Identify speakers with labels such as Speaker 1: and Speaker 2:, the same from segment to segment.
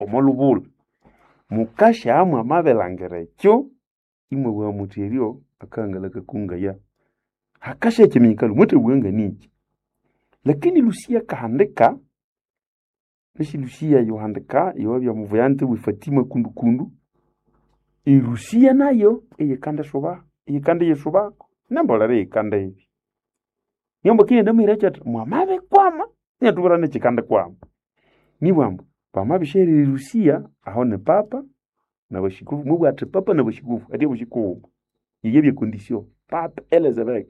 Speaker 1: Omo lubula mukasha mwamabilangira ekyo imwabugha muthi eryo akahangala kakungaya hakasha ekiminyikalo mwathabugha nganiki. Lakini Lucia akahandika nasi Lucia yohandika yowabya muvuyante we Fatima kundukundu eRusia nayo eyikandisuba eyikandiyisubako nembolere eyikandibya. Niambu akiyenda muhira athi mwamabikwama inatubwira nekikandikwama. Nibwa ambu bamabisyaghera eRusia aho ni papa nabashikufu mubugha athi papa nabashikufu athi obushikuwuma yeyabya condition papa Elizabeth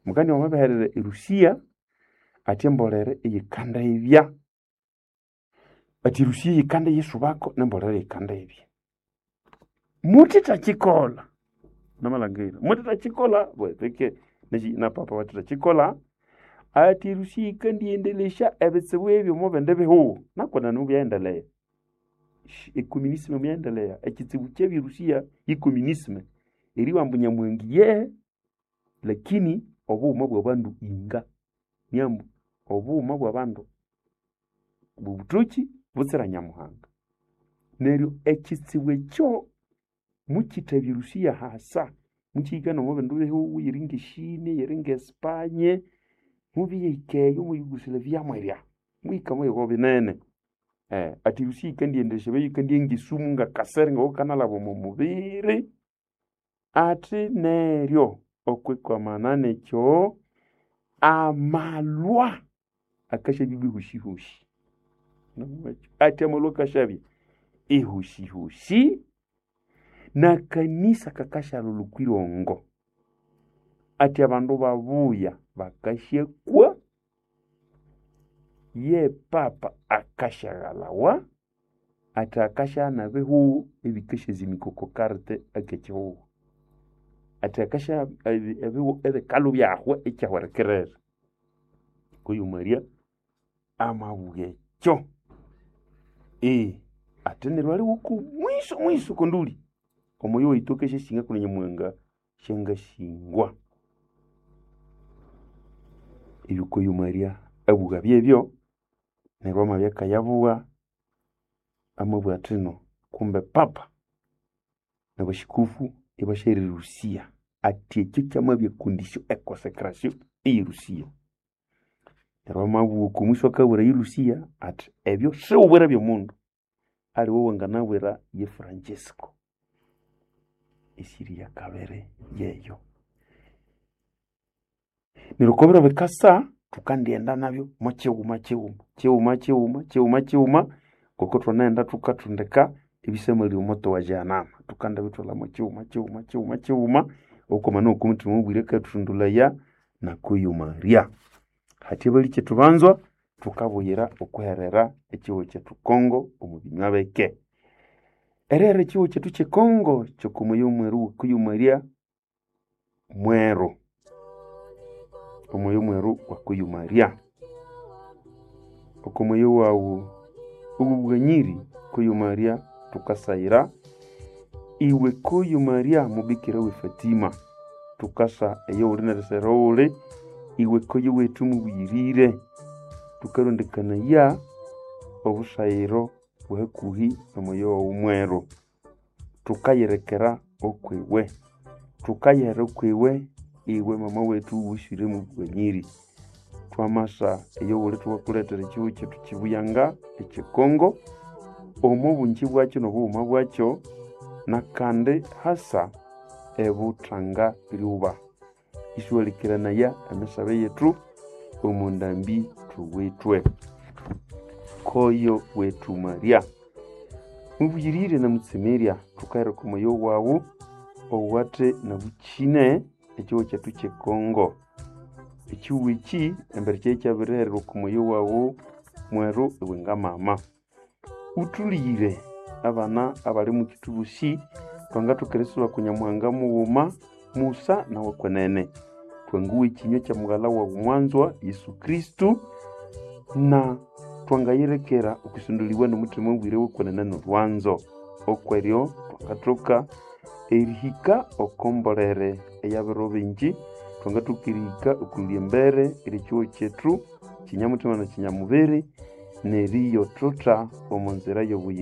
Speaker 1: mukania wamabiherera eRusia athi embolere eyikandibya athi eRusia yikandiyisubako nembolere yikandibya. Muthithakikolha namalhangira muthithakikolha bweteke na papa bathithakikolha athi eRusia yikandiyendelesya ebitsibu ebyo omo bindi bihugho nakwenene mubyayendelea. Ecommunism muyaendelea ekitsibu kyabya eRusia ye communism eribugha ambu Nyamuhanga yehe lakini obughuma bwabandu inga niambu obughuma bwabandu bobuthoki butsira Nyamuhanga. Neryo ekitsibu ekyo mukithabya eRusia hasa mukihika nomo bindi bihugho yiri ngeChina yiri ngeSpanye mubihika eyo mwe Yugoslavia mwerya muhika mwehiko binene. Athi eRusia yikandiyendelesya yikandiyenga esumu ngakasere ngokukanalhaba omo mubiri athi neryo okwikwamana nekyo amalwa akasyabya ihoshihoshi. Athi amalwa akasyabya ihoshihoshi nakanisa kakasyalholha okwirongo. Athi abandu babuya bakasyakwa ye papa akasyaghalawa athi akasyaghana ebihugho ebikasyazimika oko karte akekihugho. Athi akasya ebihugho ebikalhu byahwa ikyahwerekerera. Kuyu Maria amabugha ekyo. Athi neryo aliwe oko mwiso mwiso konduli omoyo waitu akasyasinga kundi Nyamuhanga syangasingwa. Ebyo kuyu Maria abugha byebyo neryo amabya akayabugha amabugha athi ino kumbe papa nabashikufu ibasyaghira eRusia athi ekyo kyamabya econdition econsecration eye Rusia. Neryo amabugha oko mwiso akabwira eRusia athi ebyo siwubwire byomundu aliwe wanganabwira ye Francisco. Esiri yakabiri yeyo. Neryo okobiro bikasa thukandighenda nabyo mwakighuma kighuma kighuma kighuma kighuma kighuma ngoko thwanaghenda thukathundika ebisamali omoto wa Jehanama thukandibithwalha mwakighuma kighuma kighuma kighuma okwamana oku omuthima mubwire akathuthundulaya nakuyu Maria. Hathya balikyetu banzwa thukabuyira okwiherera ekihugho kyethu Congo omu binywa bike. Erihera ekihugho kyethu kye Congo kyokomoyo mweru wakuyu Maria mweru omoyo mweru wakuyu Maria. Okomoyo wawu obughanyiri kuyu Maria thukasayira iwe kuyu Maria mubikira we Fatima thukasa eyo wuli nerisera wuli iwe kuyu wethu mubuyirire thukarondekanaya obusayiro bwahakuhi nomoyo wawu mweru thukayirekera okwiwe thukayihera okwiwe iwe mama wethu wuswire mubughanyiri. Twamasa eyo wuli thukakulethera ekihugho kyethu kibuyanga ekye Congo omo bungi bwakyo nobughuma bwakyo nakandi hasa ebuthanga lyuba. Isiwalikiranaya emisabe yethu omo ndambi thuwithwe. Koyo wethu Maria mubuyirire namutsemerya thukahera omoyo wawu owathe nabukyine ekihugho kyethu kye Congo. Ekihugho eki embere kyabya kyabirihererwa oko moyo wawu mweru iwe ngamama. Uthuliyire abana abali mukithubusi thwangathoka erisuba ku Nyamuhanga mughuma Musa nawe kwenene. Twanguwa ekinywa kya mughalha wawu mwanzwa Yesu Kristo na twangayirekera okwisunduliwa nomuthima mubwire wekwenene nolwanzo. Okweryo thwangathoka erihika oko mbolere eyabiro bingi thwangathoka erihika okwilya embere eryekihugho kyethu kinyamuthima na kinyamubiri. Neriyo thutha omo nzira y'obuyingo.